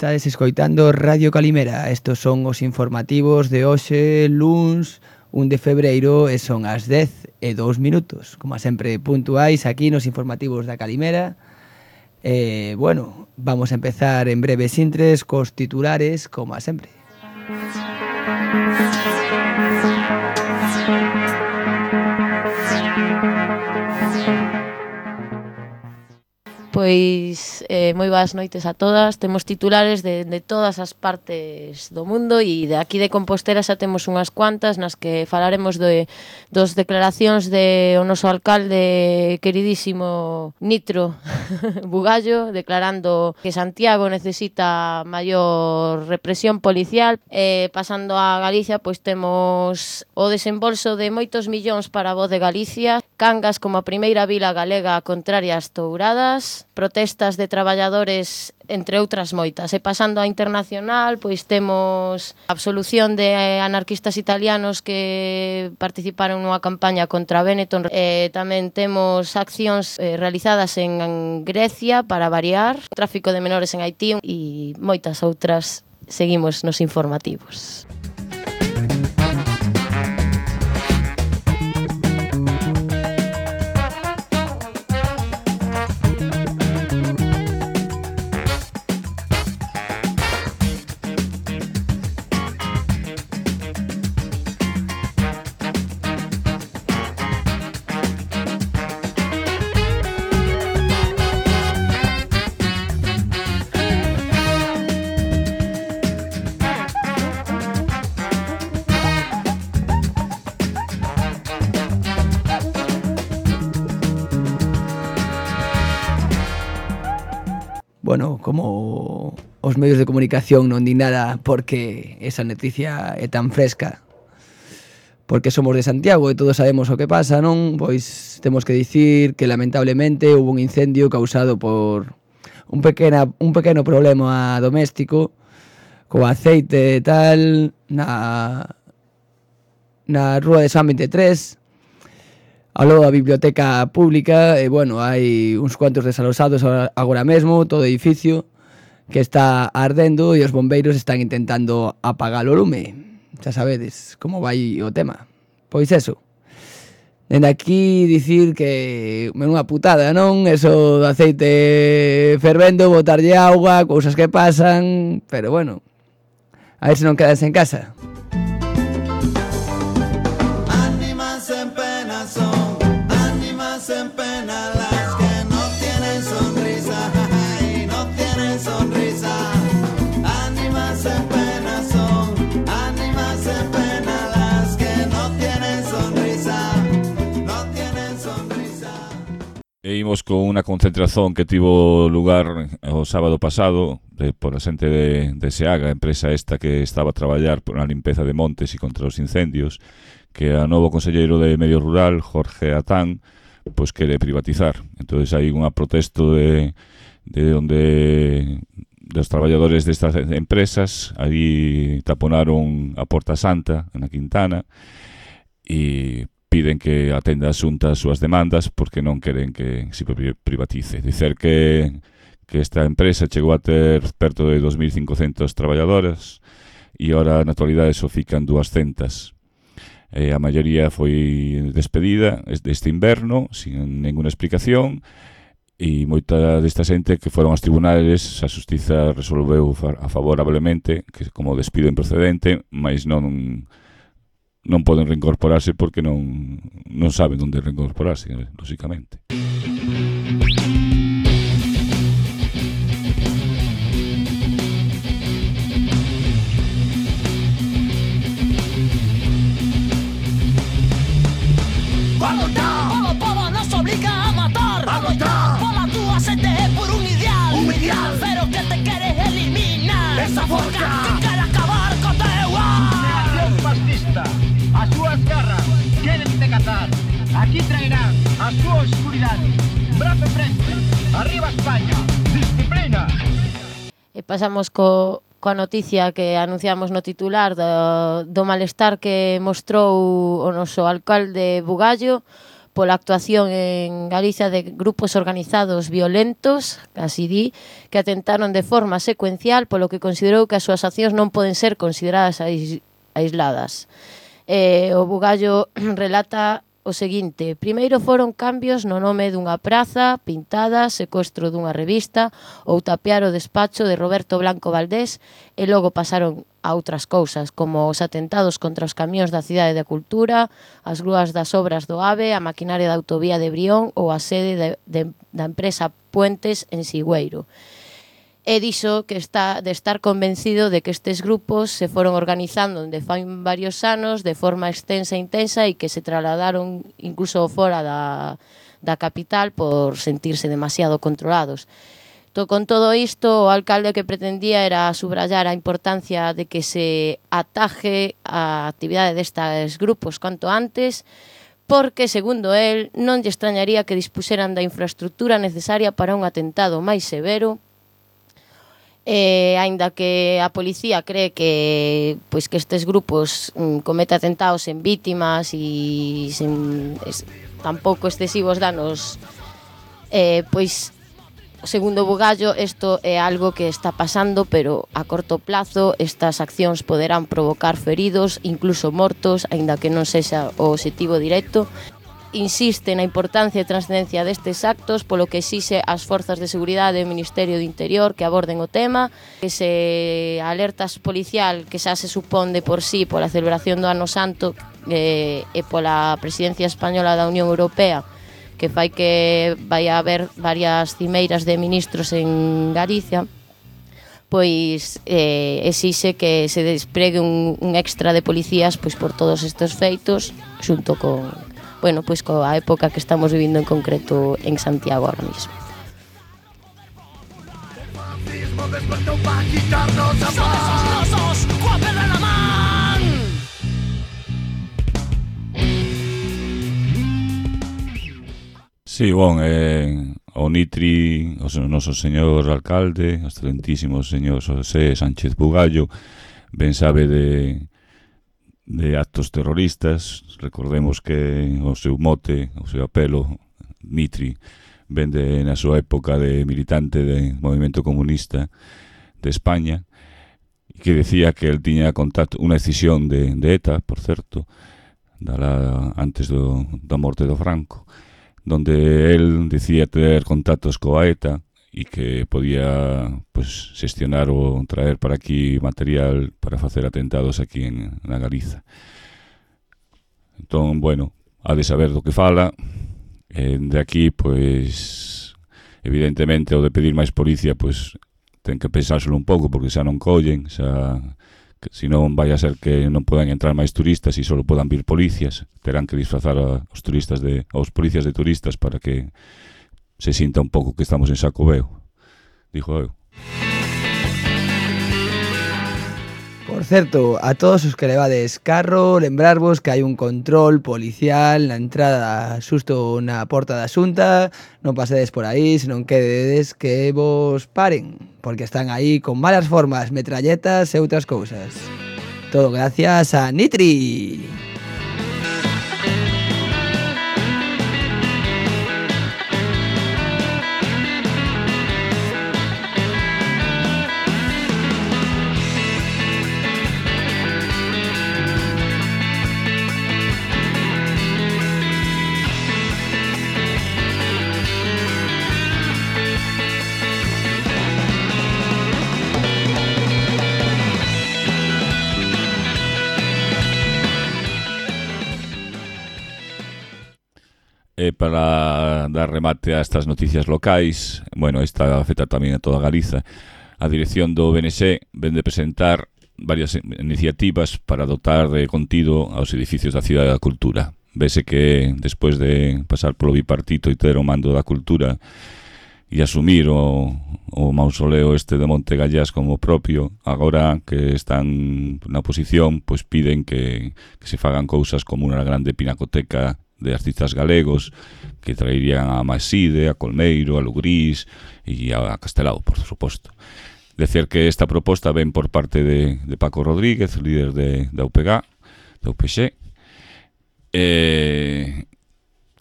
Estades escoitando Radio Calimera. Estos son os informativos de hoxe, luns 1 de febreiro, e son as 10:02. Como sempre, puntuais aquí nos informativos da Calimera. Bueno, vamos a empezar en breves intres cos titulares, como a sempre. Pois moi boas noites a todas. Temos titulares de todas as partes do mundo e de aquí de Compostela xa temos unhas cuantas nas que falaremos dos declaracións de o noso alcalde queridísimo Nitro Bugallo, declarando que Santiago necesita maior represión policial. Pasando a Galicia, pois temos o desembolso de moitos millóns para a Voz de Galicia, Cangas como a primeira vila galega contraria ás touradas, protestas de traballadores, entre outras moitas. E pasando a internacional, pois temos a absolución de anarquistas italianos que participaron nunha campaña contra Benetton. Tamén temos accións realizadas en Grecia para variar, tráfico de menores en Haití e moitas outras. Seguimos nos informativos. Bueno, como os medios de comunicación non di nada porque esa noticia é tan fresca, porque somos de Santiago e todos sabemos o que pasa, non? Pois temos que dicir que lamentablemente hubo un incendio causado por un pequeno problema doméstico co aceite e tal na rúa de San 23, ao lado da biblioteca pública. E, bueno, hai uns cuantos desalosados agora mesmo, todo o edificio que está ardendo e os bombeiros están intentando apagar o lume. Xa sabedes como vai o tema. Pois eso, dende aquí dicir que é unha putada, non? Eso do aceite fervendo, botarlle auga, cousas que pasan, pero bueno, a ver se non quedas en casa. E imos con unha concentración que tivo lugar o sábado pasado por a xente de Seaga, a empresa esta que estaba a traballar por a limpeza de montes e contra os incendios, que a novo conselleiro de Medio Rural, Jorge Atán, pois quere privatizar. Entón hai unha protesto de onde dos traballadores destas empresas. Aí taponaron a Porta Santa na Quintana e piden que atenda a Xunta as súas demandas porque non queren que se privatice. Dicer que esta empresa chegou a ter perto de 2.500 traballadoras e ora na actualidade só fican 200. A maioría foi despedida deste inverno sin ninguna explicación e moita desta xente que foron aos tribunales, a Xustiza resolveu favorablemente que como despido improcedente, mas non poden reincorporarse porque non saben onde reincorporarse, lógicamente. Vamos ya, o povo nos obliga a matar. Vamos ya, pola túa sete por un ideal, pero que te queres eliminar. Esa forca que quere acabar co teu ar. Neación fascista. As súas garras queren te cazar. Aquí traerán a súa oscuridade. Brazo frente, arriba España, disciplina. E pasamos coa noticia que anunciamos no titular do malestar que mostrou o noso alcalde Bugallo pola actuación en Galicia de grupos organizados violentos, así di, que atentaron de forma secuencial, polo que considerou que as súas accións non poden ser consideradas aisladas. O bugallo relata o seguinte: primeiro foron cambios no nome dunha praza pintada, secuestro dunha revista ou tapear o despacho de Roberto Blanco Valdés, e logo pasaron a outras cousas, como os atentados contra os camións da Cidade da Cultura, as grúas das obras do AVE, a maquinaria da autovía de Brión ou a sede da empresa Puentes en Sigüeiro. E dixo que está de estar convencido de que estes grupos se foron organizando dende fai varios anos de forma extensa e intensa e que se trasladaron incluso fora da capital por sentirse demasiado controlados. Con todo isto, o alcalde que pretendía era subrayar a importancia de que se ataje a actividade destes grupos canto antes, porque, segundo el, non lle extrañaría que dispuseran da infraestructura necesaria para un atentado máis severo. Aínda que a policía cree que estes grupos cometen atentados en vítimas e sen tampouco excesivos danos, segundo Bugallo, isto é algo que está pasando, pero a corto plazo estas accións poderán provocar feridos, incluso mortos, aínda que non sexa o obxectivo directo. Insiste na importancia e trascendencia destes actos, polo que exixe ás forzas de seguridade e o Ministerio do Interior que aborden o tema, que se alertas policial que xa se supón de por sí pola celebración do Ano Santo e pola presidencia española da Unión Europea, que fai que vai haber varias cimeiras de ministros en Galicia, pois exixe que se despregue un extra de policías por todos estes feitos, xunto con coa época que estamos vivindo en concreto en Santiago ahora mismo. Sí, o Nitri, o noso señor alcalde, o excelentísimo señor José Sánchez Bugallo, ben sabe de actos terroristas. Recordemos que o seu mote, o seu apelo, Nitri, vende na súa época de militante do movimento comunista de España, que decía que el tiña contacto, unha decisión de ETA, por certo, antes da morte do Franco, donde el decía ter contactos coa ETA e que podía xestionar ou traer para aquí material para facer atentados aquí na Galiza. Entón, ha de saber do que fala. De aquí, evidentemente, o de pedir máis policía, ten que pensárselo un pouco, porque xa non collen, se non vai a ser que non podan entrar máis turistas e só podan vir policías, terán que disfrazar aos policías de turistas para que se sinta un pouco que estamos en Xacobeo, dijo eu. Por certo, a todos os que levades carro, lembrarvos que hai un control policial na entrada xusto na porta da Xunta. Non pasedes por aí, senón quededes que vos paren, porque están aí con malas formas, metralletas e outras cousas. Todo gracias a Nitri. Para dar remate a estas noticias locais, esta afecta tamén a toda Galiza, a dirección do BNC vende presentar varias iniciativas para dotar de contido aos edificios da Cidade da Cultura. Vese que despois de pasar polo bipartito e ter o mando da cultura e asumir o mausoleo de Monte Gallás como propio, agora que están na oposición, piden que se fagan cousas como unha grande pinacoteca de artistas galegos que traerían a Maside, a Colmeiro, a Lugrís e a Castelao, por suposto. Decir que esta proposta ven por parte de Paco Rodríguez, líder da UPG,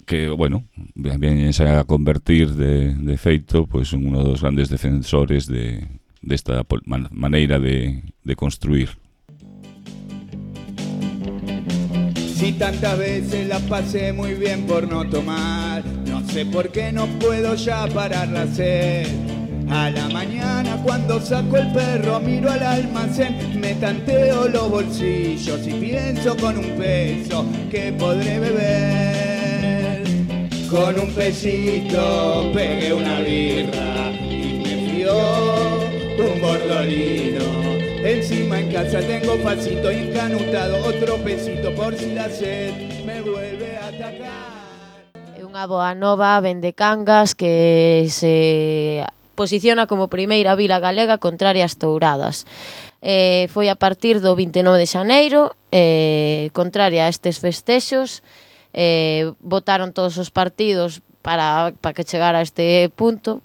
que que, bueno, viense a convertir de feito pois en uno dos grandes defensores desta maneira de construir. Si tantas veces la pasé muy bien por no tomar, no sé por qué no puedo ya parar la sed. A la mañana cuando saco el perro miro al almacén, me tanteo los bolsillos y pienso con un peso que podré beber. Con un pesito pegué una birra y me fió un bordolino. Encima en casa tengo facito encanutado, otro pesito por si la sed me vuelve a atacar. É unha boa nova, vende Cangas, que se posiciona como primeira vila galega contraria ás touradas. Foi a partir do 29 de xaneiro, contraria a estes festexos, votaron todos os partidos para que chegara a este punto.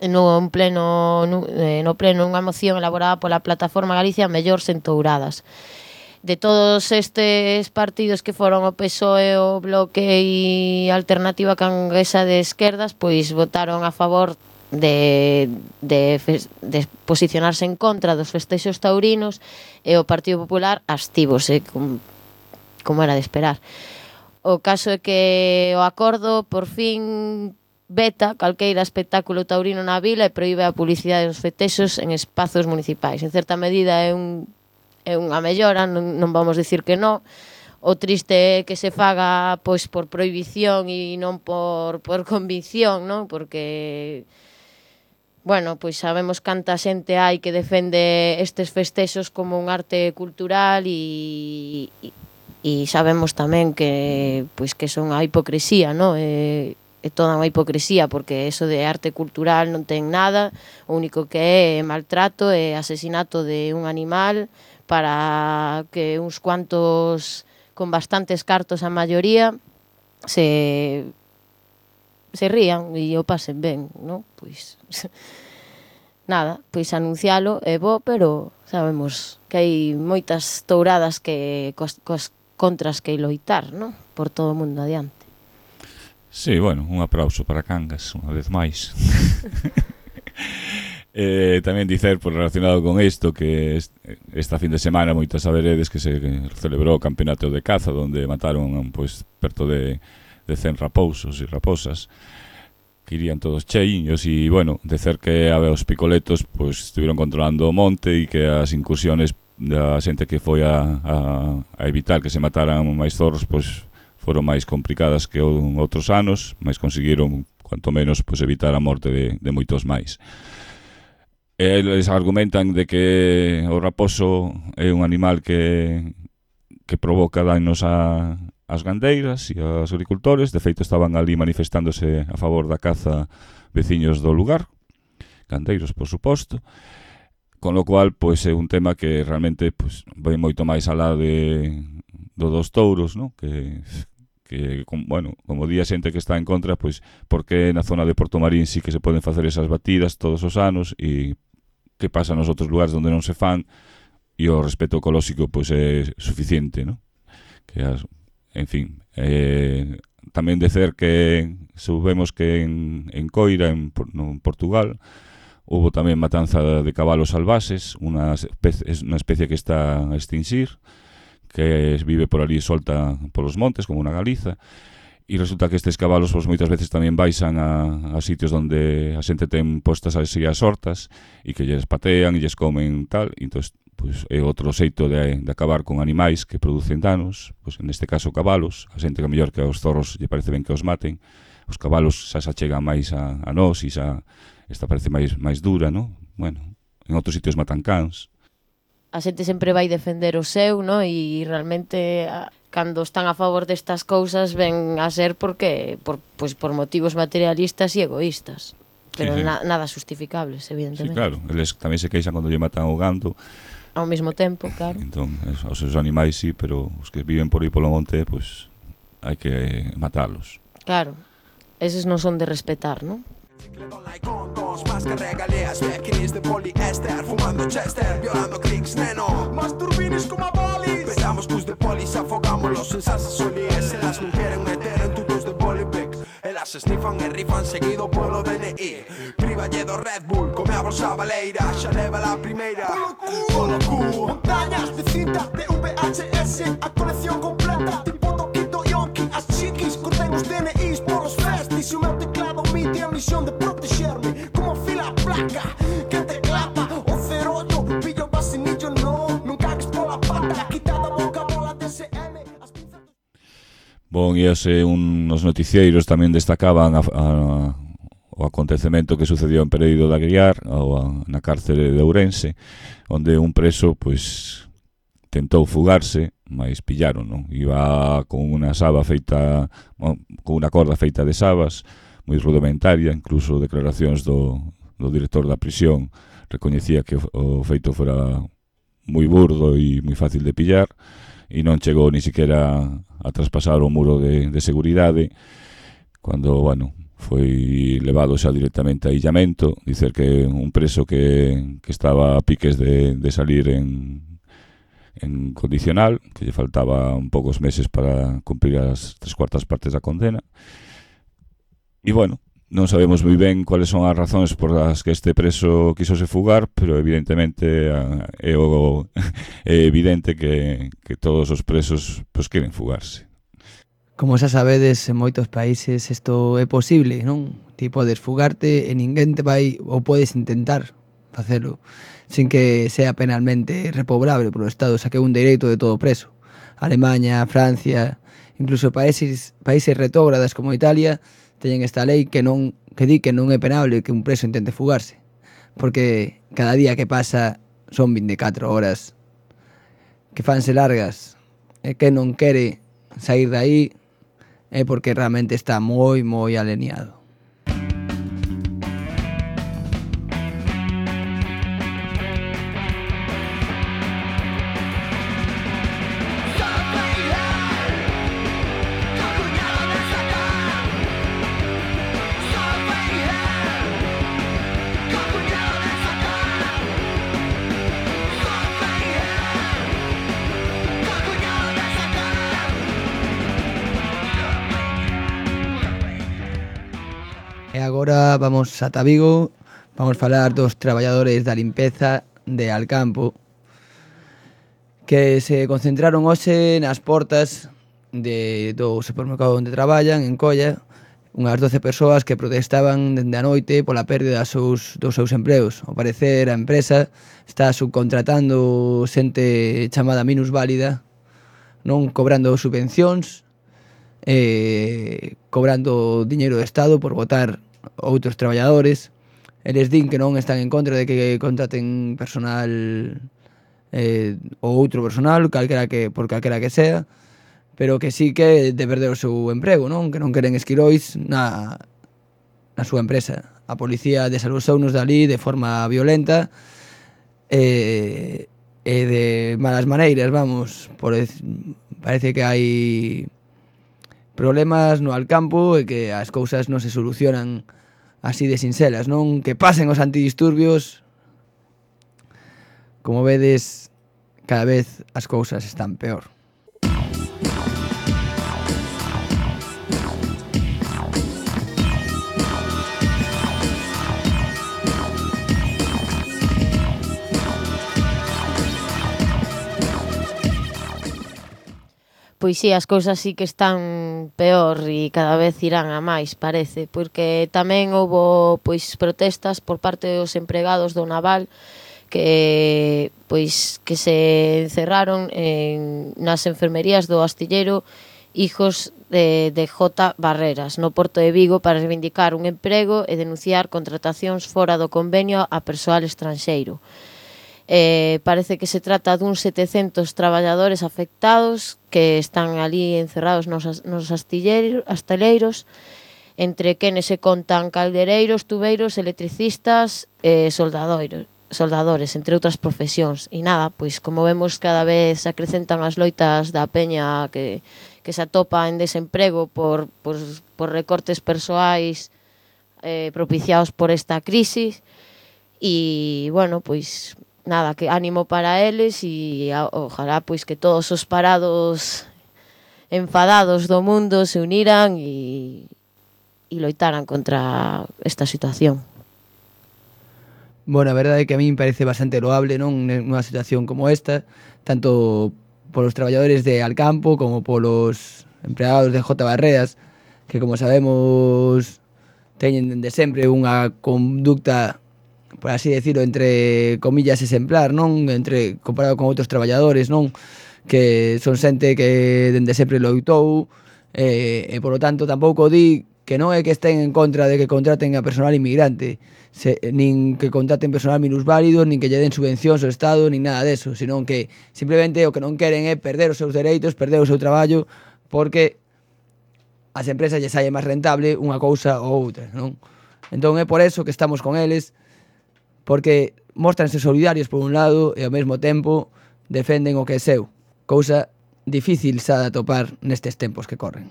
No pleno unha moción elaborada pola Plataforma Galicia Mellor sen touradas. De todos estes partidos que foron o PSOE, o Bloque e Alternativa Canguesa de Esquerdas, pois votaron a favor de posicionarse en contra dos festexos taurinos, e o Partido Popular abstívose, como era de esperar. O caso é que o acordo por fin veta calqueira espectáculo taurino na vila e proíbe a publicidade dos festexos en espazos municipais. En certa medida é unha mellora, non vamos dicir que non. O triste é que se faga pois por prohibición e non por convicción, non? Porque bueno, pois sabemos canta xente hai que defende estes festexos como un arte cultural e sabemos tamén que pois que son a hipocresía, non? É toda unha hipocresía, porque eso de arte cultural non ten nada, o único que é maltrato e asesinato de un animal para que uns cuantos con bastantes cartos a maioría se rían e o pasen ben, non? Pois nada, pois anuncialo é bo, pero sabemos que hai moitas touradas que cos contras que loitar, non? Por todo o mundo adiante. Sí, bueno, un aplauso para Cangas, unha vez máis. Tamén dicer, por relacionado con isto, que esta fin de semana moitas saberedes que se celebrou o campeonato de caza, onde mataron pois perto de 100 raposos e raposas, que irían todos cheiños, e, bueno, dicer que os picoletos pois estiveron controlando o monte e que as incursiones da xente que foi a evitar que se mataran máis zorros, pois foron máis complicadas que outros anos, mas conseguiron, cuanto menos, pois, evitar a morte de moitos máis. Eles argumentan de que o raposo é un animal que provoca daños ás gandeiras e aos agricultores. De feito, estaban ali manifestándose a favor da caza veciños do lugar, gandeiros, por suposto, con lo cual, pois, é un tema que realmente pois, vai moito máis alá dos touros, ¿no? Que bueno, como di a xente que está en contra, pois, porque na zona de Porto Marín sí que se poden facer esas batidas todos os anos, e que pasa nos outros lugares onde non se fan, e o respeto ecolóxico pois é suficiente, ¿no? En fin, tamén dicer que sabemos que en Coira, en Portugal, houve tamén matanza de cabalos salvaxes, unha especie que está a extinguir, que vive por ali solta polos montes, como unha galiza, e resulta que estes cabalos pois, moitas veces tamén baixan a sitios onde a xente ten postas así as hortas, e que lles patean e lles comen tal, e entón, pois, é outro xeito de acabar con animais que producen danos, pois, neste caso cabalos. A xente que mellor que aos zorros lle parece ben que os maten, os cabalos xa se achegan máis a nós, e xa esta parece máis dura, non? Bueno, en outros sitios matan cans. A xente sempre vai defender o seu, no? E realmente cando están a favor destas cousas ven a ser por motivos materialistas e egoístas, pero sí. Nada justificables, evidentemente. Sí, claro, eles tamén se queixan cando lle matan o gando ao mesmo tempo, claro. Entón, os seus animais sí, pero os que viven por aí polo monte, pois hai que matalos. Claro, eses non son de respetar, non? Más que regaleas, maquinis de poliéster, fumando chester, violando clics, neno. Más turbinis como a bolis. Petamos cus de polis, afogámoslos en salsa solíes. Se las non queren meter en tutos de bolis. Se snifan e rifan seguido polo DNI. Privalle do Red Bull, come a bolsa baleira. Xa leva la primeira polo cu. Montañas de cinta de VHS, a colección completa. Tipo Toquito Yonki, as chiquis curten os DNIs polos festis. E o meu teclado mite a misión de protexerme. Como fila a placa, que te clapa. O 08, pillo vacinillo, no. Nunca cagues pola pata, quitada a boca, bola DSM. Bon, e nos noticieiros tamén destacaban o acontecemento que sucedió en Pereiro de Aguiar, na cárcere de Ourense, onde un preso, pois, tentou fugarse, mas pillaron, non? Iba con unha saba feita, con unha corda feita de sabas, moi rudimentaria, incluso declaracións do director da prisión recoñecía que o feito fora moi burdo e moi fácil de pillar, e non chegou ni siquiera a traspasar o muro de seguridade, cando, bueno, foi levado xa directamente a illamento. Dicer que un preso que estaba a piques de salir en condicional, que lle faltaba un poucos meses para cumprir as 3/4 partes da condena. E, bueno, non sabemos moi ben cuáles son as razóns por as que este preso quisose fugar, pero evidentemente é evidente que todos os presos pois queren fugarse. Como xa sabedes, en moitos países isto é posible, non? Ti podes fugarte e ninguén te vai, ou podes intentar facelo, sin que sea penalmente repobrable polo Estado, xa que é un dereito de todo preso. Alemania, Francia, incluso países retrógradas como Italia, teñen esta lei que di que non é penable que un preso intente fugarse, porque cada día que pasa son 24 horas que fanse largas, e que non quere sair de aí é porque realmente está moi alineado. E agora vamos ata Vigo, vamos falar dos traballadores da limpeza de Alcampo que se concentraron hoxe nas portas do supermercado onde traballan, en Colla, unhas 12 persoas que protestaban dende a noite pola pérdida dos seus empleos. Ao parecer, a empresa está subcontratando xente chamada minusválida, non cobrando subvencións, cobrando diñeiro do Estado por botar outros traballadores. Eles din que non están en contra de que contraten personal ou outro personal, por calquera que sea, pero que sí que de perder o seu emprego, non? Que non queren esquirois na súa empresa. A policía desaloxounos dali de forma violenta e de malas maneiras, vamos. Parece que hai problemas no Alcampo e que as cousas non se solucionan así de sinxelas, non? Que pasen os antidisturbios. Como vedes, cada vez as cousas están peor. Pois sí, as cousas sí que están peor e cada vez irán a máis, parece, porque tamén houbo pois protestas por parte dos empregados do Naval que se encerraron nas enfermerías do astilleiro Hijos de J. Barreras, no Porto de Vigo, para reivindicar un emprego e denunciar contratacións fora do convenio a persoal estranxeiro. Parece que se trata duns 700 traballadores afectados que están ali encerrados nos asteleiros, entre quenes se contan caldereiros, tubeiros, electricistas e soldadores, entre outras profesións. E nada, pois como vemos, cada vez se acrecentan as loitas da peña que se atopa en desemprego por recortes persoais propiciados por esta crisis. E, bueno, pois nada, que ánimo para eles e ojalá pois que todos os parados enfadados do mundo se uniran e loitaran contra esta situación. Bueno, a verdade é que a mí me parece bastante loable, non, nunha situación como esta, tanto polos traballadores de Alcampo como polos empregados de J. Barreras, que como sabemos teñen de sempre unha conducta, por así decirlo, entre comillas exemplar, non, entre comparado con outros traballadores, non, que son xente que dende sempre loitou, e polo tanto tampouco di que non é que estén en contra de que contraten a personal inmigrante, nin que contraten personal minusválido, nin que lle den subvencións ao Estado, nin nada deso, senón que simplemente o que non queren é perder os seus dereitos, perder o seu traballo, porque as empresas lle sae máis rentable unha cousa ou outra, non? Entón é por eso que estamos con eles, porque mostranse solidarios por un lado e ao mesmo tempo defenden o que é seu, cousa difícil xa de atopar nestes tempos que corren.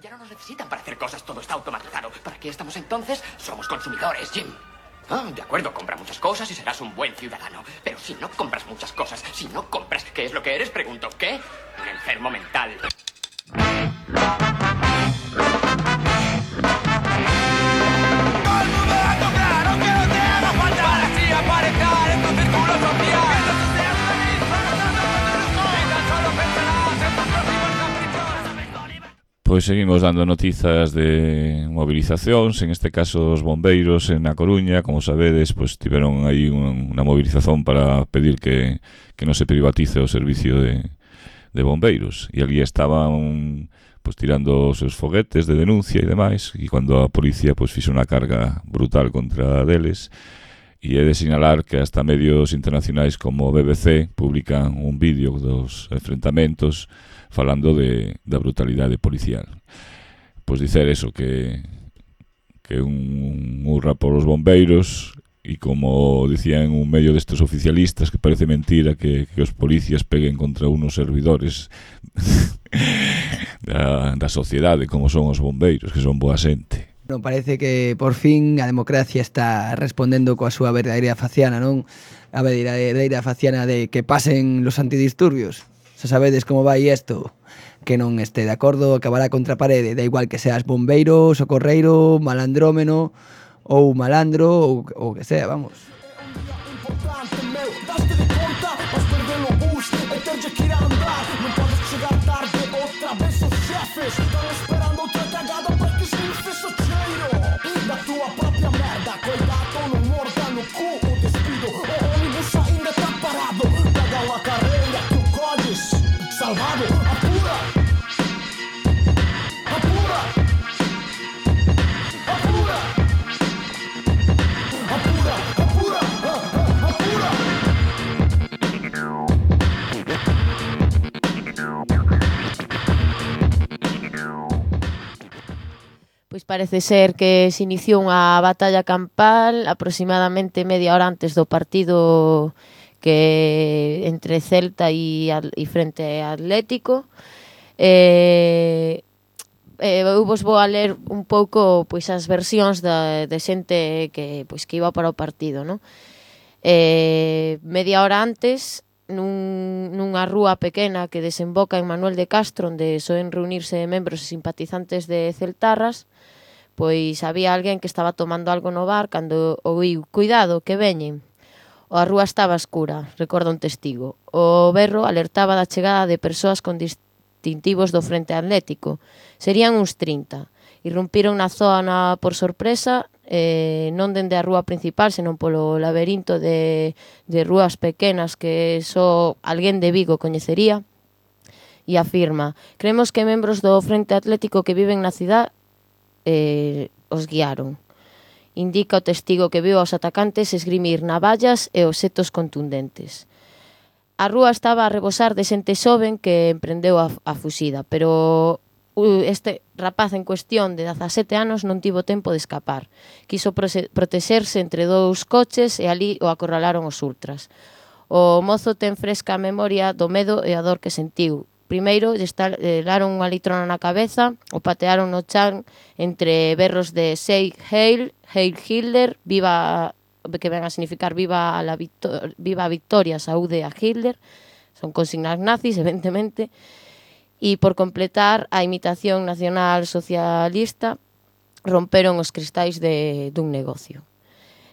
Ya no nos necesitan para hacer cosas, todo está automatizado. ¿Para qué estamos entonces? Somos consumidores, Jim. Ah, de acuerdo, compra muchas cosas y serás un buen ciudadano. Pero si no compras muchas cosas, si no compras, ¿qué es lo que eres? Pregunto, ¿qué? Un enfermo mental. Pois seguimos dando noticias de movilizacións, en este caso os bombeiros en A Coruña, como sabedes, pois tiveron aí unha movilización para pedir que non se privatice o servicio de bombeiros, e ali estaban pois tirando os seus foguetes de denuncia e demais, e cando a policía pois fixo unha carga brutal contra deles, e é de sinalar que hasta medios internacionais como BBC publican un vídeo dos enfrentamentos falando da brutalidade policial. Pois dicer eso, que un hurra por os bombeiros, e como dicían un medio destes oficialistas, que parece mentira que os policías peguen contra unos servidores da sociedade, como son os bombeiros, que son boa xente. Non, parece que por fin a democracia está respondendo coa súa verdadeira faciana, non? A verdadeira faciana de que pasen los antidisturbios. Se sabedes como vai isto, que non este de acordo acabará contra a parede, da igual que seas bombeiro, socorreiro, malandrómeno ou malandro ou que sea, vamos. Salvado, apura, apura, apura, apura, apura, apura. Pois parece ser que se iniciou unha batalla campal aproximadamente media hora antes do partido que entre Celta e frente Atlético. Eu vos vou a ler un pouco pois as versións de xente que iba para o partido, non? Media hora antes, nunha rúa pequena que desemboca en Manuel de Castro, onde soen reunirse membros e simpatizantes de celtarras, pois había alguén que estaba tomando algo no bar cando ouiu: "Cuidado, que veñen". A rúa estaba escura, recorda un testigo. O berro alertaba da chegada de persoas con distintivos do Frente Atlético. Serían uns 30. Irrumpiron na zona por sorpresa, non dende a rúa principal, senón polo laberinto de rúas pequenas que só alguén de Vigo coñecería. E afirma: "Creemos que membros do Frente Atlético que viven na cidade os guiaron". Indica o testigo que viu aos atacantes esgrimir navallas e obxetos contundentes. A rúa estaba a rebosar de xente xoven que emprendeu a fuxida, pero este rapaz en cuestión de 17 anos non tivo tempo de escapar. Quiso protexerse entre dous coches e ali o acorralaron os ultras. O mozo ten fresca a memoria do medo e a dor que sentiu. Primeiro, lle estalaron unha litrona na cabeza, o patearon no chan entre berros de Sei Heil, Heil Hitler, viva, que ven a significar viva a Victoria, saúde a Hitler, son consignas nazis, evidentemente, e por completar a imitación nacional socialista, romperon os cristais dun negocio.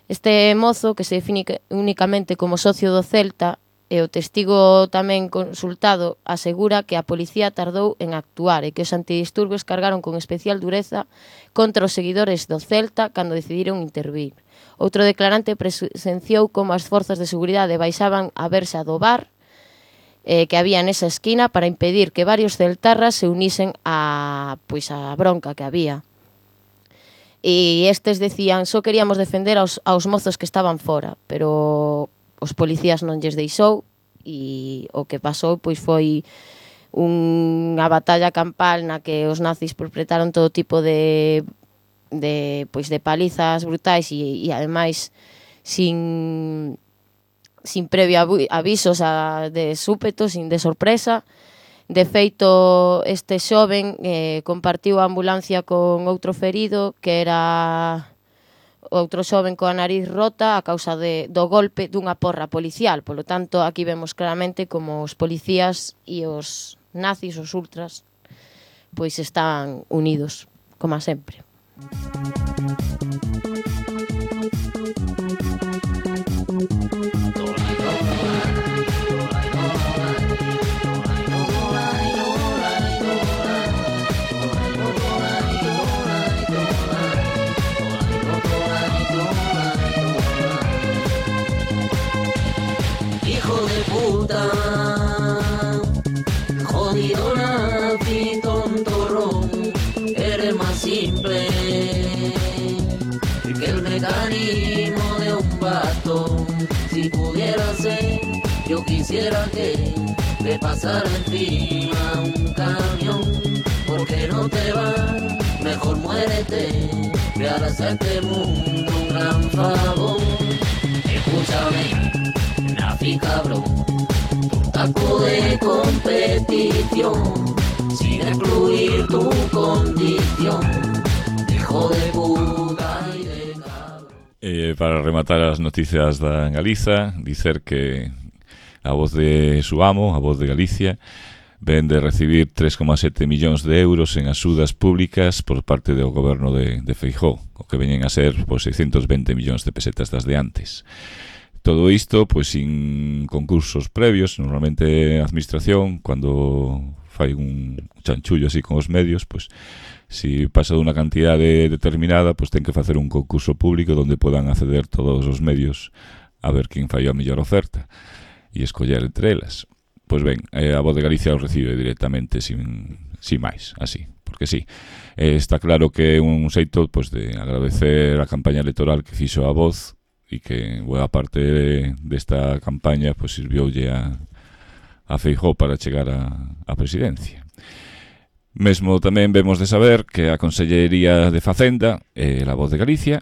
Este mozo, que se define únicamente como socio do Celta, e o testigo tamén consultado asegura que a policía tardou en actuar e que os antidisturbios cargaron con especial dureza contra os seguidores do Celta cando decidiron intervir. Outro declarante presenciou como as forzas de seguridade baixaban a verxa do bar que había nesa esquina para impedir que varios celtarras se unisen a bronca que había. E estes decían, só queríamos defender aos mozos que estaban fora, pero os policías non lles deixou e o que pasou pois foi unha batalla campal na que os nazis perpetraron todo tipo de palizas brutais e ademais sin previo aviso, de súpeto, de sorpresa. De feito, este xoven compartiu a ambulancia con outro ferido que era outro xoven coa nariz rota a causa do golpe dunha porra policial. Polo tanto, aquí vemos claramente como os policías e os nazis, os ultras, pois están unidos, como sempre. Jodido nazi, tontorrón, eres más simple que el mecanismo de un bastón. Si pudiera ser, yo quisiera que le pasara encima un camión. Porque no te vas, mejor muérete, ve a hacerte mundo un gran favor. Escúchame, nazi cabrón, taco de competición, sin excluir tu condición, hijo de puta y de cabrón. Para rematar as noticias da Galiza, dicer que a voz de su amo, a voz de Galicia, ven de recibir 3,7 millóns de euros en axudas públicas por parte do goberno de Feijóo, o que veñen a ser 620 millóns de pesetas das de antes. Todo isto, pois, sin concursos previos. Normalmente a administración, cando fai un chanchullo así con os medios, pois, si pasa dunha cantidade determinada, pois ten que facer un concurso público onde podan acceder todos os medios a ver quen fai a mellor oferta e escoller entre elas. Pois ben, a Voz de Galicia o recibe directamente sin máis, así, porque sí. Está claro que é un xeito, pois, de agradecer a campaña electoral que fixo a Voz e que boa parte desta campaña pois sirvioulle a Feijóo para chegar á presidencia. Mesmo tamén vemos de saber que a Consellería de Facenda e a Voz de Galicia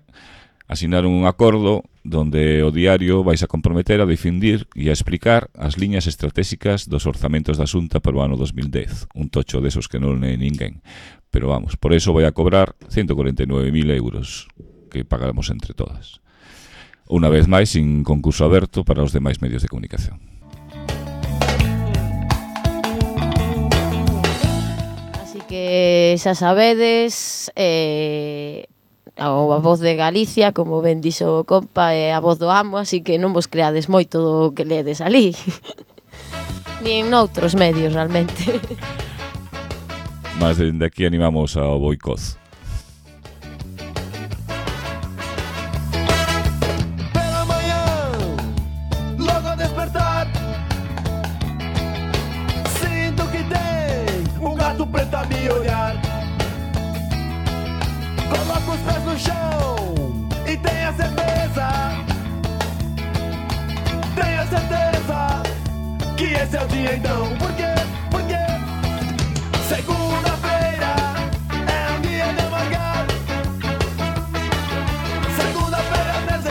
asinaron un acordo donde o diario vais a comprometer a difundir e a explicar as liñas estratégicas dos orzamentos da Xunta para o ano 2010. Un tocho desos que non é ninguén. Pero vamos, por eso vai a cobrar 149.000 euros que pagaremos entre todas. Unha vez máis, sin concurso aberto para os demais medios de comunicación. Así que xa sabedes, a Voz de Galicia, como ben dixo o compa, é a voz do amo, así que non vos creades moito do que ledes ali. Nin noutros medios, realmente. Mas dende aquí animamos ao boicot. Coloca os pés no chão e tenha certeza que esse é o dia então. Por quê? Porque segunda-feira é um dia de amargar. Segunda-feira 13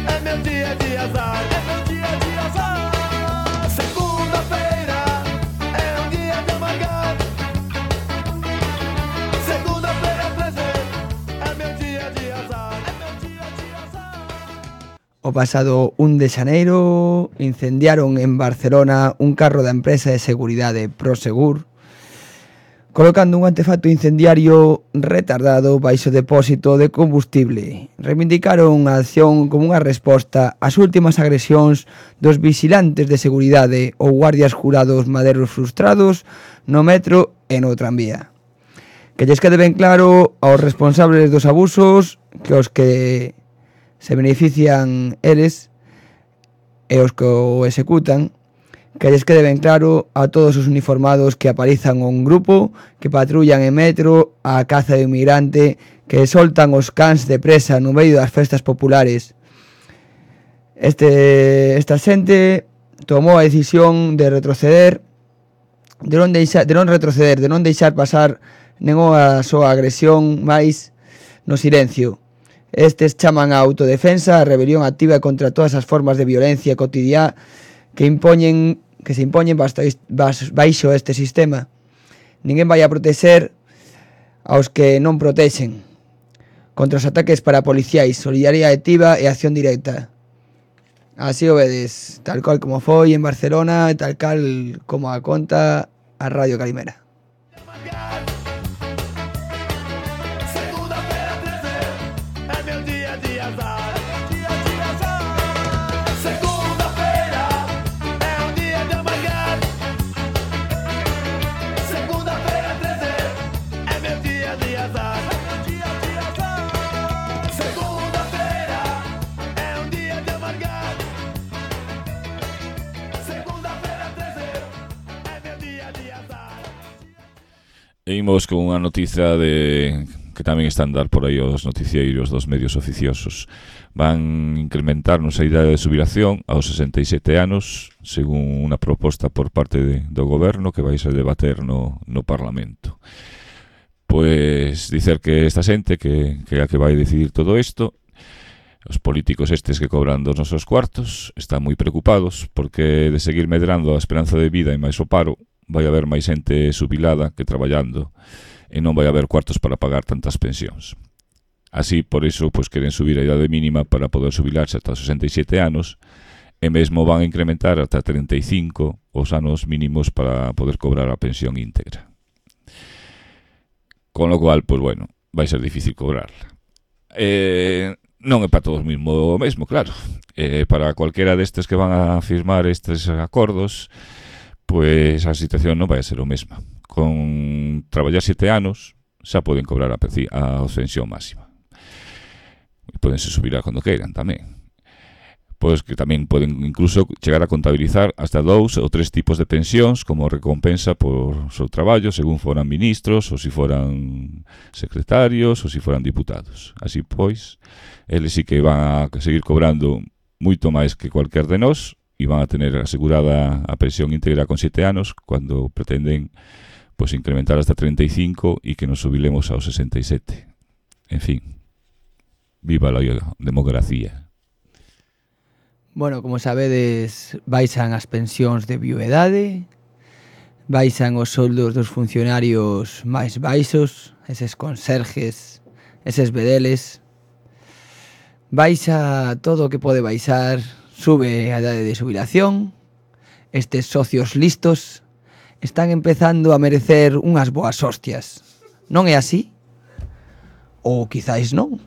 é meu dia de azar. É meu dia de azar. Segunda-feira é um dia de amargar. Segunda-feira 13 é meu dia de azar. É meu dia de azar. O pasado 1 de xaneiro incendiaron en Barcelona un carro da empresa de seguridade Prosegur colocando un artefacto incendiario retardado baixo depósito de combustible. Reivindicaron a acción como unha resposta ás últimas agresións dos vixilantes de seguridade ou guardias jurados maderos frustrados no metro e no tranvía. Que lles quede ben claro aos responsables dos abusos que os que se benefician eles e os que o executan, que lles quede ben claro a todos os uniformados que apalizan un grupo, que patrullan en metro a caza de inmigrante, que soltan os cans de presa no medio das festas populares. Esta xente tomou a decisión de retroceder, de non deixar pasar nenhuma soa agresión máis no silencio. Estes chaman a autodefensa, a rebelión activa contra todas as formas de violencia cotidiá que se impoñen baixo este sistema. Ninguén vai a protexer aos que non protexen contra os ataques parapoliciais, solidariedade activa e acción directa. Así o vedes, tal cual como foi en Barcelona, tal cal como a conta a Radio Calimera. E imos con unha noticia que tamén están dar por aí os noticieiros dos medios oficiosos. Van incrementarnos a idade de xubilación aos 67 anos, según unha proposta por parte do goberno que vai ser debater no Parlamento. Pois dicer que esta xente que é a que vai decidir todo isto, os políticos estes que cobran dos nosos cuartos, están moi preocupados porque de seguir medrando a esperanza de vida e máis o paro, vai haber máis xente xubilada que traballando e non vai haber cuartos para pagar tantas pensións. Así, por iso, pois queren subir a idade mínima para poder xubilarse ata os 67 anos e mesmo van a incrementar ata 35 os anos mínimos para poder cobrar a pensión íntegra. Con lo cual, pois bueno, vai ser difícil cobrarla. Non é para todos mesmo, claro. Para cualquera destes que van a firmar estes acordos, pois a situación non vai ser o mesma. Con traballar 7 anos xa poden cobrar a pensión máxima. E podense subirar cando queiran tamén. Pois que tamén poden incluso chegar a contabilizar hasta 2 ou 3 tipos de pensións como recompensa por seu traballo, según foran ministros, ou se foran secretarios, ou se foran diputados. Así pois, eles sí que van a seguir cobrando moito máis que cualquier de nós, e van a tener asegurada a pensión íntegra con 7 anos cando pretenden pois incrementar hasta 35 e que nos jubilemos aos 67. En fin, viva a democracia. Bueno, como sabedes, baixan as pensións de viuedade, baixan os soldos dos funcionarios máis baixos, eses conserjes, eses bedeles, baixa todo o que pode baixar. Sube a idade de xubilación. Estes socios listos están empezando a merecer unhas boas hostias. Non é así? Ou quizáis non?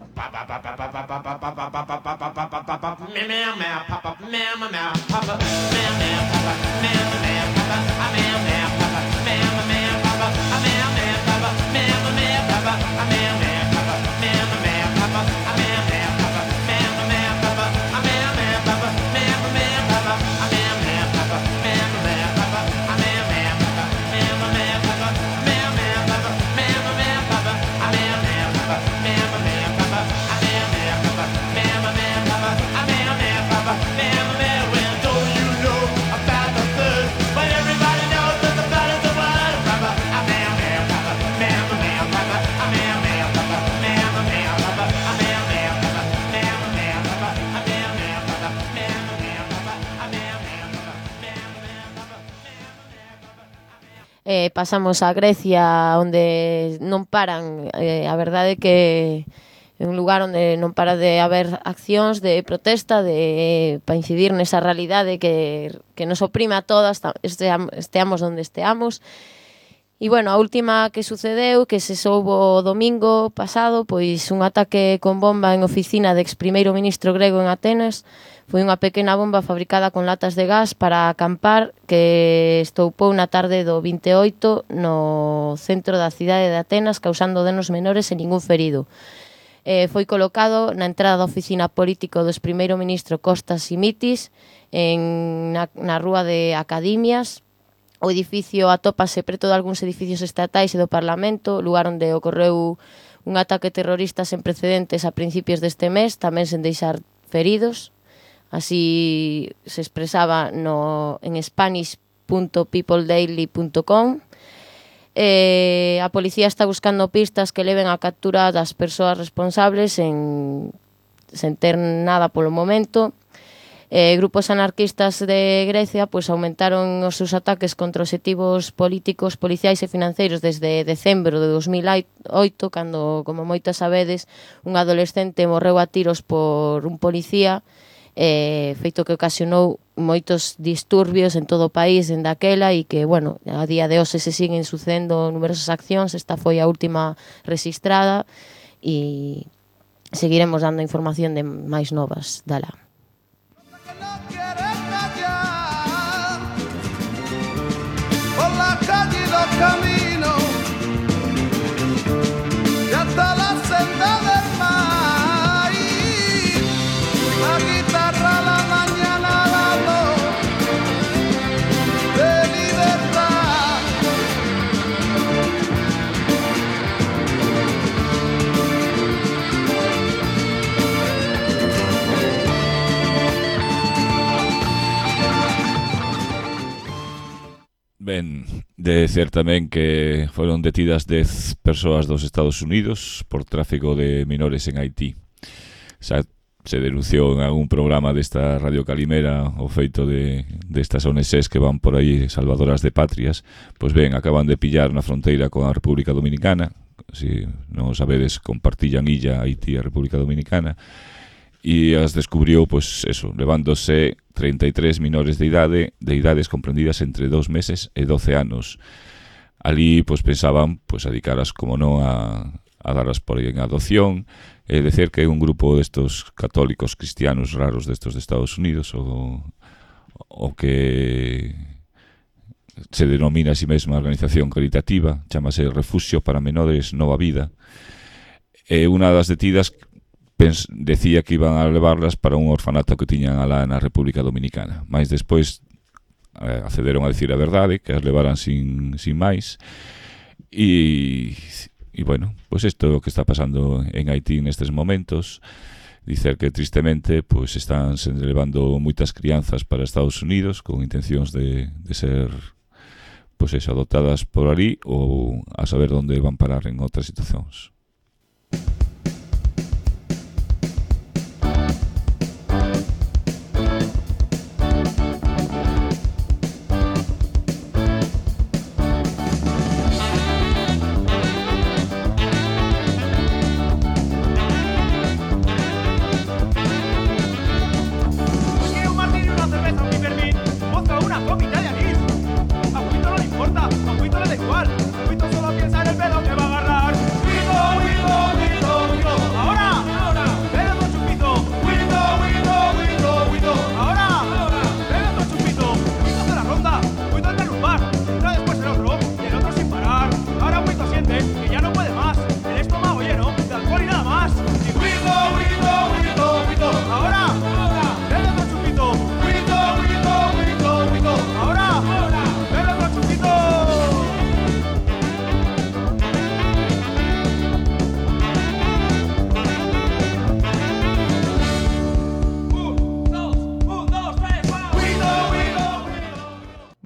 Pasamos a Grecia, onde non paran, a verdade que é un lugar onde non para de haber accións de protesta para incidir nesa realidade que nos oprime a todas, esteamos onde esteamos, E, bueno, a última que sucedeu, que se soubo o domingo pasado, pois un ataque con bomba en oficina de ex primeiro ministro grego en Atenas. Foi unha pequena bomba fabricada con latas de gas para acampar que estoupou na tarde do 28 no centro da cidade de Atenas, causando danos menores e ningún ferido. Foi colocado na entrada da oficina político do ex primeiro ministro Kostas Simitis na rúa de Academias. O edificio atópase preto de algúns edificios estatais e do Parlamento, lugar onde ocorreu un ataque terrorista sen precedentes a principios deste mes, tamén sen deixar feridos. Así se expresaba en spanish.peopledaily.com. A policía está buscando pistas que leven a captura das persoas responsables sen ter nada polo momento. Grupos anarquistas de Grecia pois aumentaron os seus ataques contra obxectivos políticos, policiais e financeiros desde decembro de 2008, cando, como moitas sabedes, un adolescente morreu a tiros por un policía, feito que ocasionou moitos disturbios en todo o país en daquela e que, bueno, a día de hoxe se siguen sucedendo numerosas accións. Esta foi a última rexistrada e seguiremos dando información de máis novas dala. Por la calle y los caminos y hasta la senda del maíz, la guitarra a la mañana, la voz de libertad. Ben, de ser tamén que foron detidas 10 persoas dos Estados Unidos por tráfico de menores en Haití. Xa se denunciou en algún programa desta Radio Calimera o feito destas ONGs que van por aí salvadoras de patrias. Pois ben, acaban de pillar na fronteira con a República Dominicana. Si non sabedes, compartillan illa Haití e a República Dominicana. E as descubriu, pois, eso, levándose 33 menores de idades comprendidas entre 2 meses e 12 anos. Ali, pois, pensaban, pois, adicaras, como non, a darlas por aí en adopción, e dicer que é un grupo destos católicos cristianos raros destos de Estados Unidos, o que se denomina a si mesma organización caritativa, chamase Refugio para Menores Nova Vida, e unha das detidas decía que iban a levarlas para un orfanato que tiñan alá na República Dominicana. Mais despois accederon a decir a verdade, que as levaran sin máis. E bueno, pois isto é o que está pasando en Haití nestes momentos. Dicer que tristemente pois están se levando moitas crianzas para Estados Unidos con intencións de ser pois eso, adoptadas por ali ou a saber onde van parar en outras situacións.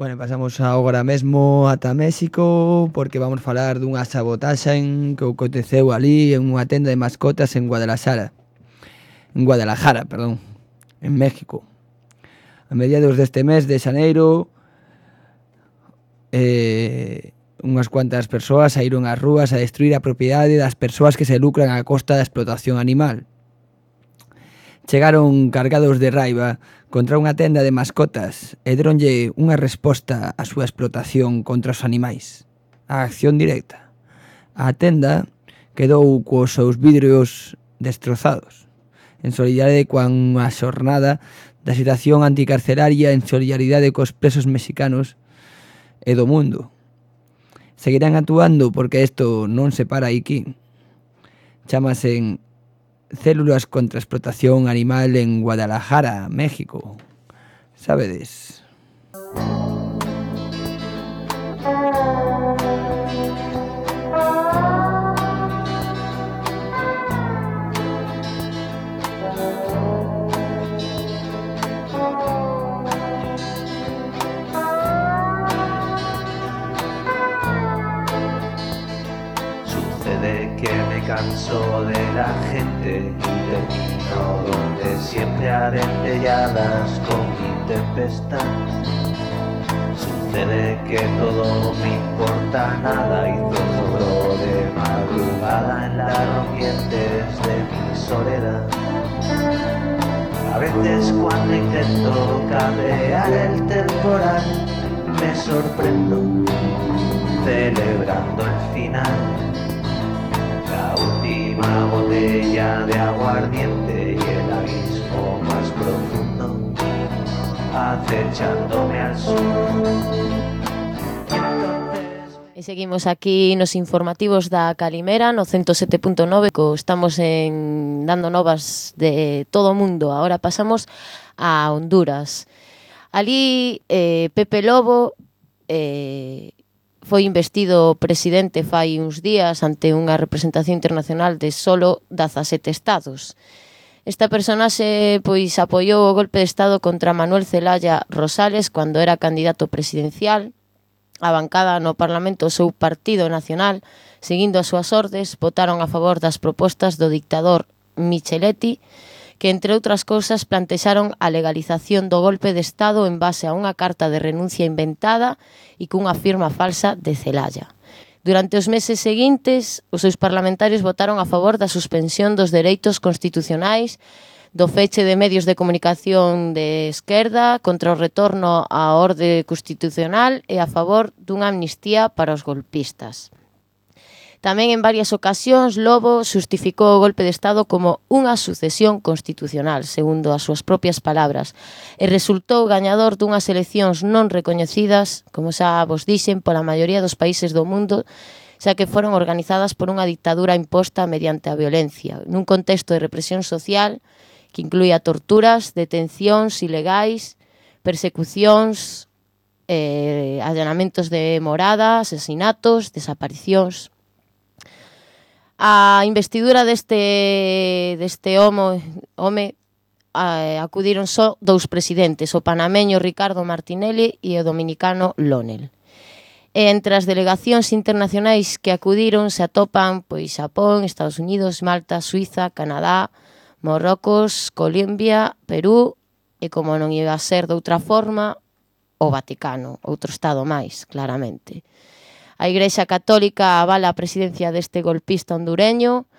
Bueno, pasamos agora mesmo ata México porque vamos falar dunha sabotaxe que aconteceu ali en unha tenda de mascotas en Guadalajara, en México. A mediados deste mes de xaneiro, unhas cuantas persoas saíron ás rúas a destruir a propiedade das persoas que se lucran a costa da explotación animal. Chegaron cargados de raiva contra unha tenda de mascotas e deronlle unha resposta á súa explotación contra os animais. a acción directa. A tenda quedou cos seus vidrios destrozados, en solidaridade coa xornada da situación anticarceraria, en solidaridade cos presos mexicanos e do mundo. Seguirán actuando porque isto non se para aquí. Chámase Células contra a Explotación Animal en Guadalajara, México. Sabedes? Que me canso de la gente y termino donde siempre adentelladas con mi tempestad. Sucede que todo me importa nada y zozobro de madrugada en las rompientes de mi soledad. A veces cuando intento cabrear el temporal me sorprendo celebrando el final. La última botella de aguardiente y el abismo más profundo acechándome al sur. E seguimos aquí nos informativos da Calimera no 107.9, estamos dando novas de todo o mundo. Ahora pasamos a Honduras. Ali Pepe Lobo foi investido presidente fai uns días ante unha representación internacional de solo 17 estados. Esta personaxe pois apoiou o golpe de estado contra Manuel Zelaya Rosales cando era candidato presidencial. A bancada no Parlamento, o seu Partido Nacional, seguindo as súas ordes, votaron a favor das propostas do dictador Micheletti, que, entre outras cousas, plantexaron a legalización do golpe de Estado en base a unha carta de renuncia inventada e cunha firma falsa de Zelaya. Durante os meses seguintes, os seus parlamentarios votaron a favor da suspensión dos dereitos constitucionais, do feche de medios de comunicación de esquerda, contra o retorno á orde constitucional e a favor dunha amnistía para os golpistas. Tamén en varias ocasións Lobo xustificou o golpe de Estado como unha sucesión constitucional, segundo as súas propias palabras, e resultou gañador dunhas eleccións non recoñecidas, como xa vos dixen, pola maioría dos países do mundo, xa que foron organizadas por unha dictadura imposta mediante a violencia, nun contexto de represión social que incluía torturas, detencións ilegais, persecucións, allanamentos de morada, asesinatos, desaparicións. A investidura deste home acudiron só dous presidentes, o panameño Ricardo Martinelli e o dominicano Lonel. E entre as delegacións internacionais que acudiron se atopan pois Xapón, Estados Unidos, Malta, Suiza, Canadá, Marrocos, Colombia, Perú e, como non iba a ser de outra forma, o Vaticano, outro estado máis, claramente. A Igrexa Católica avala a presidencia deste golpista hondureño,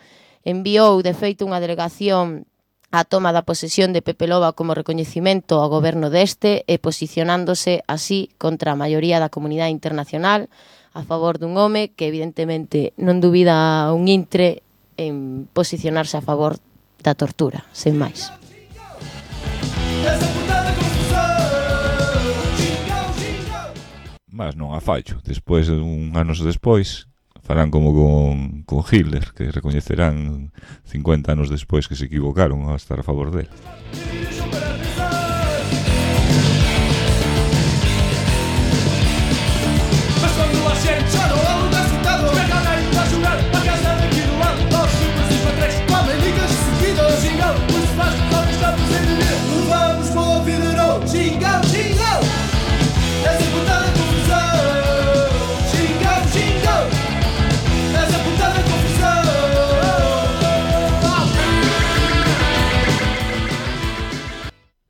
enviou, de feito, unha delegación á toma da posesión de Pepe Loba como recoñecimento ao goberno deste e posicionándose así contra a maioría da comunidade internacional a favor dun home que, evidentemente, non dubida un intre en posicionarse a favor da tortura, sen máis. Mas non a fallo. Despois, anos despois, farán como con Hitler, que recoñecerán 50 anos despois que se equivocaron a estar a favor dele.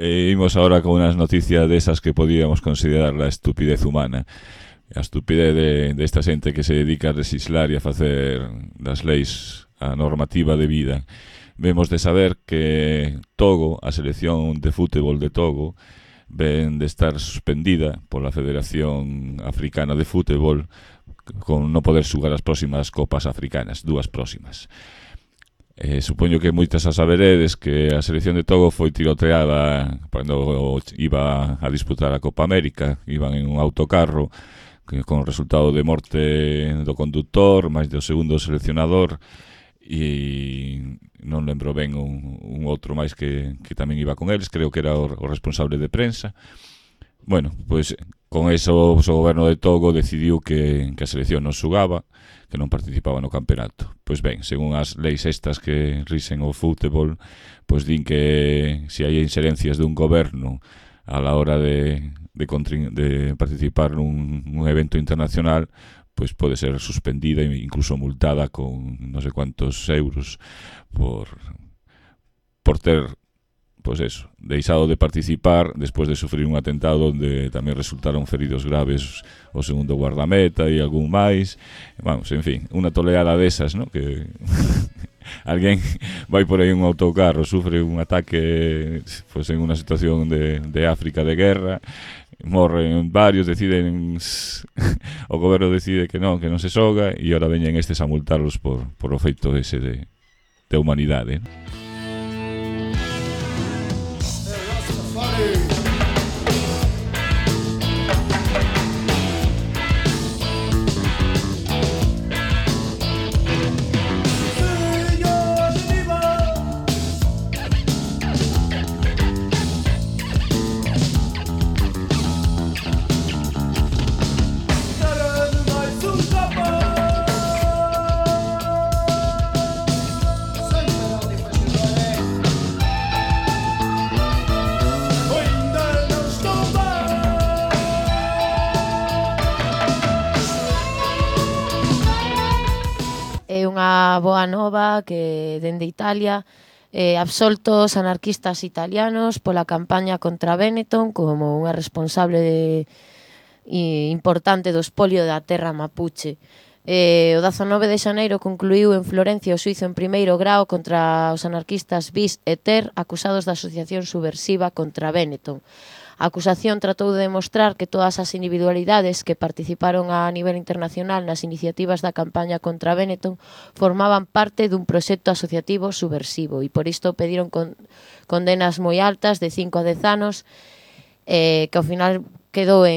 Imos ahora con unas noticias desas que podíamos considerar la estupidez humana. A estupidez desta xente que se dedica a legislar e a facer das leis a normativa de vida. Vemos de saber que Togo, a selección de fútbol de Togo, ven de estar suspendida pola Federación Africana de Fútbol con non poder xugar as próximas copas africanas, 2 próximas. Supoño que moitas a saberedes que a selección de Togo foi tiroteada cando iba a disputar a Copa América. Iban en un autocarro con resultado de morte do conductor, máis do segundo seleccionador, e non lembro ben un outro máis que tamén iba con eles, creo que era o responsable de prensa. Bueno, pois con eso o goberno de Togo decidiu que a selección non xugaba, que non participaba no campeonato. Pois ben, según as leis estas que rixen o fútbol, pois din que se hai inxerencias dun goberno a la hora de participar nun evento internacional, pois pode ser suspendida e incluso multada con non sei cuántos euros por ter, pois eso, deixado de participar despois de sufrir un atentado onde tamén resultaron feridos graves o segundo guardameta e algún máis. Vamos, en fin, unha toleada desas, ¿no? Que alguén vai por aí un autocarro, sufre un ataque pois en unha situación de África de guerra, morren varios, deciden o goberno decide que non se xoga, e ahora veñen estes a multarlos por o feito ese de humanidade, ¿no? Unha boa nova que dende Italia absoltos anarquistas italianos pola campaña contra Benetton como unha responsable importante do espolio da terra mapuche. O 19 de xaneiro concluíu en Florencia o xuízo en primeiro grao contra os anarquistas Bis e Ter, acusados da asociación subversiva contra Benetton. A acusación tratou de demostrar que todas as individualidades que participaron a nivel internacional nas iniciativas da campaña contra Benetton formaban parte dun proxecto asociativo subversivo, e por isto pediron condenas moi altas de 5 a 10 anos, que ao final quedaba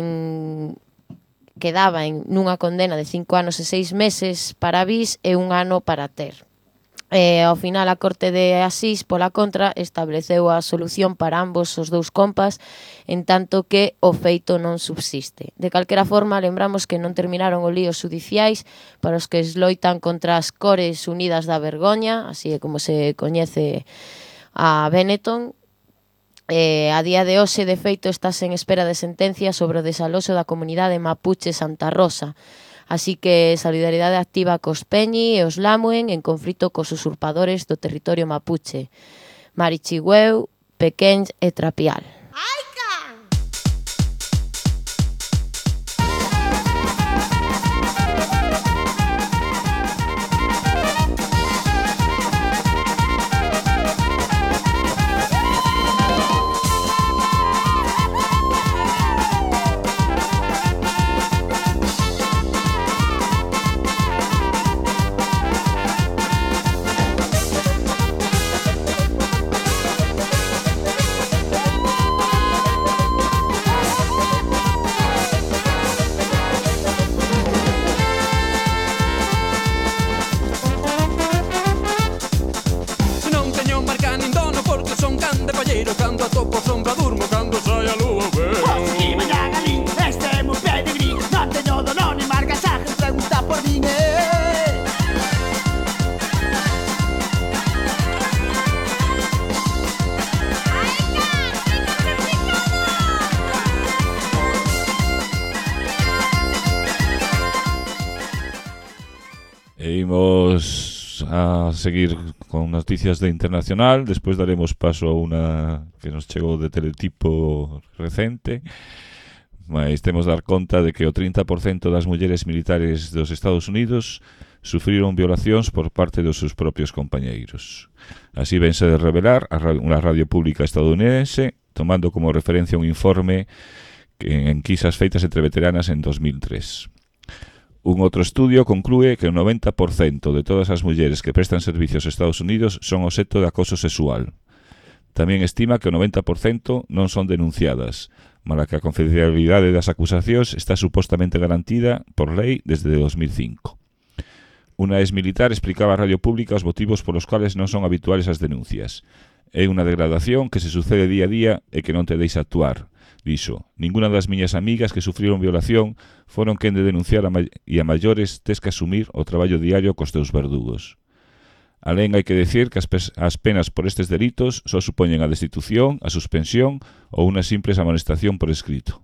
nunha condena de 5 anos e 6 meses para Bis e 1 ano para Ter. Ao final a Corte de Asís, pola contra, estableceu a solución para ambos os dous compas, en tanto que o feito non subsiste. De calquera forma, lembramos que non terminaron os líos judiciais para os que esloitan contra as Cores Unidas da Vergoña, así é como se coñece a Benetton. A día de hoxe, de feito, estás en espera de sentencia sobre o desaloxo da comunidade mapuche Santa Rosa. Así que solidaridade activa cos Peñi e os Lamuen en conflito cos usurpadores do territorio mapuche, Marichigüeu, Pequéns e Trapial. Imos a seguir con noticias de internacional, despois daremos paso a unha que nos chegou de Teletipo recente, mas temos dar conta de que o 30% das mulleres militares dos Estados Unidos sufriron violacións por parte dos seus propios compañeiros. Así vense de revelar unha radio pública estadounidense, tomando como referencia un informe en enquisas feitas entre veteranas en 2003. Un outro estudio conclúe que o 90% de todas as mulleres que prestan servicios aos Estados Unidos son obxecto de acoso sexual. Tamén estima que o 90% non son denunciadas, mala que a confidencialidade das acusacións está supostamente garantida por lei desde 2005. Unha exmilitar explicaba á radio pública os motivos polos cuales non son habituales as denuncias. É unha degradación que se sucede día a día e que non te deixa actuar. Dixo, ninguna das miñas amigas que sufriron violación foron quen de denunciar e a maiores tes que asumir o traballo diario cos teus verdugos. Alén hai que decir que as penas por estes delitos só supoñen a destitución, a suspensión ou unha simples amonestación por escrito.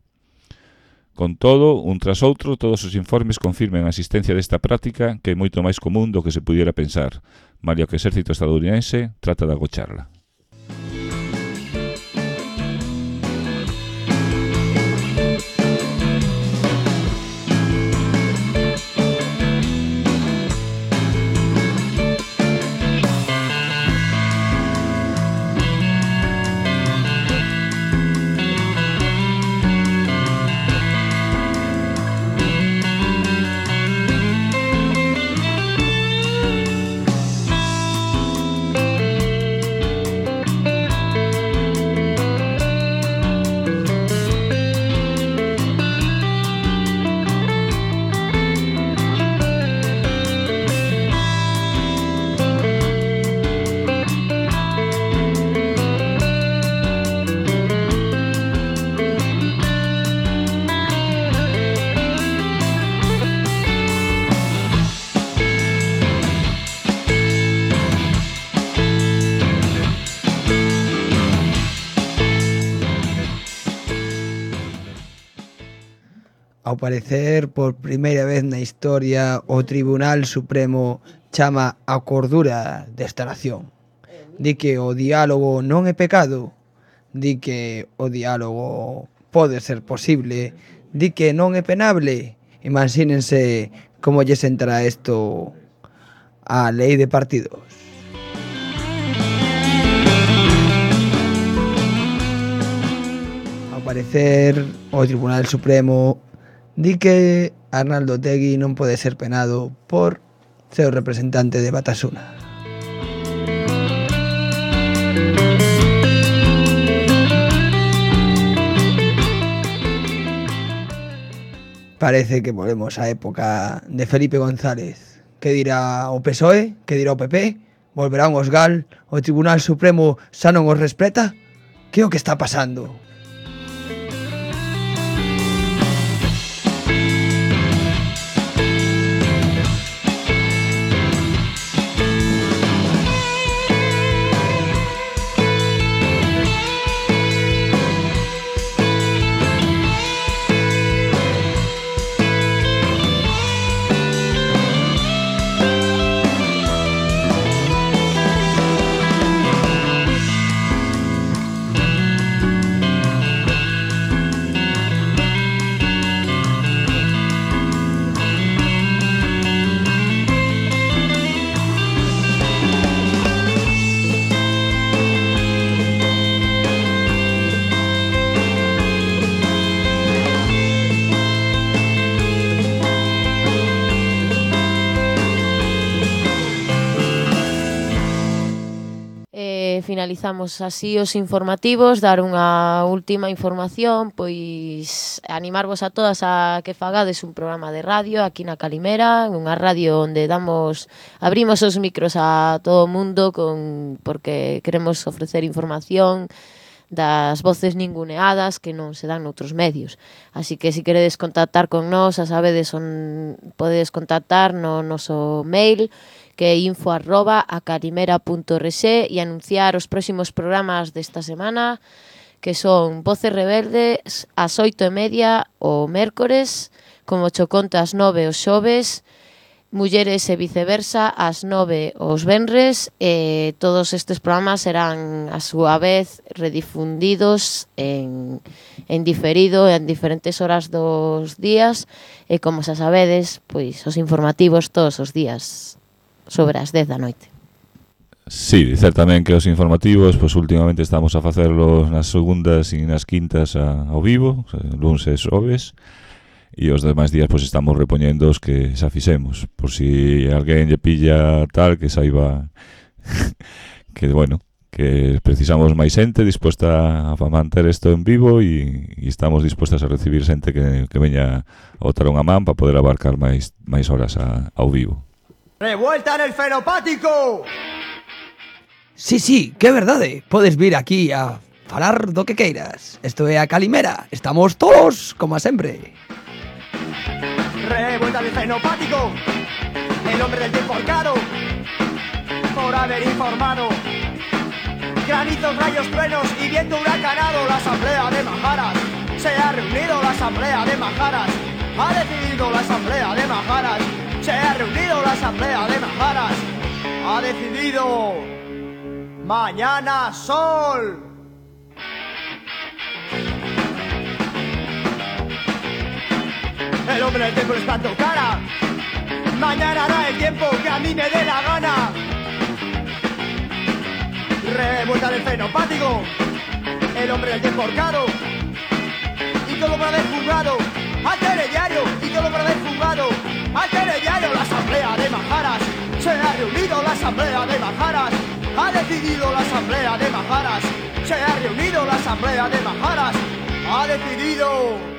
Con todo, un tras outro, todos os informes confirman a existencia desta práctica que é moito máis común do que se pudiera pensar, malia que o exército estadounidense trata de agocharla. Ao parecer, por primeira vez na historia, o Tribunal Supremo chama a cordura desta nación. Di que o diálogo non é pecado, di que o diálogo pode ser posible, di que non é penable. Imagínense como lle sentará isto á lei de partidos. Ao parecer, o Tribunal Supremo di que Arnaldo Otegi non pode ser penado por ser o representante de Batasuna. Parece que volvemos á época de Felipe González. Que dirá o PSOE? Que dirá o PP? Volverán os GAL? O Tribunal Supremo xa non os respeta? Que é o que está pasando? Finalizamos así os informativos, dar unha última información, pois animarvos a todas a que fagades un programa de radio aquí na Calimera, unha radio onde abrimos os micros a todo o mundo porque queremos ofrecer información das voces ninguneadas que non se dan noutros medios. Así que se queredes contactar con nós, a sabedes onde podedes contactar no noso mail, que é info@acalimera.org, e anunciar os próximos programas desta semana, que son Voces Rebeldes ás 8:30 o mércores, como Chocontas 9 os xoves, Mulleres e viceversa ás 9 os venres, e todos estes programas serán a súa vez redifundidos en diferido en diferentes horas dos días, e como xa sabedes, pois os informativos todos os días sobre as 10 da noite. Sí, dicer tamén que os informativos, pois últimamente estamos a facerlos nas segundas e nas quintas ao vivo, luns e xoves, e os demais días pois estamos repoñendo os que xa fixemos, por si alguén lle pilla tal, que saiba que, bueno, que precisamos máis xente disposta a manter isto en vivo, e estamos dispostas a recibir xente que veña a botar unha man para poder abarcar máis horas ao vivo. ¡Revuelta en el fenopático! Sí, que verdade. Podes vir aquí a falar do que queiras. Isto é a Calimera. Estamos todos, como sempre. Revuelta del fenopático, el hombre del tiempo arcado, por haber informado. Granizos, rayos, truenos y viento huracanado. La asamblea de Majaras se ha reunido. La asamblea de Majaras ha decidido. La asamblea de Majaras se ha reunido. La asamblea de Majaras ha decidido. Mañana sol. El hombre del tiempo les plantó cara. Mañana hará el tiempo que a mí me dé la gana. Revuelta del fenopático, el hombre del tiempo horcado, y todo por haber jugado al telediario, y todo por haber jugado al telediario. La asamblea de Majaras se ha reunido. La asamblea de Majaras ha decidido. La asamblea de Majaras se ha reunido. La asamblea de Majaras ha decidido.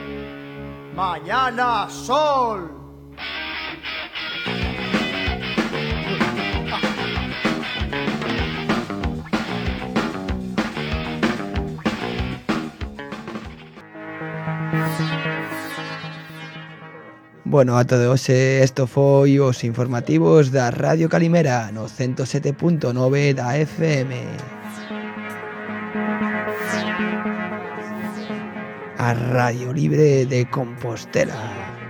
Mañana sol. Bueno, a todo hoxe isto foi os informativos da Radio Calimera no 107.9 da FM. A Radio Libre de Compostela.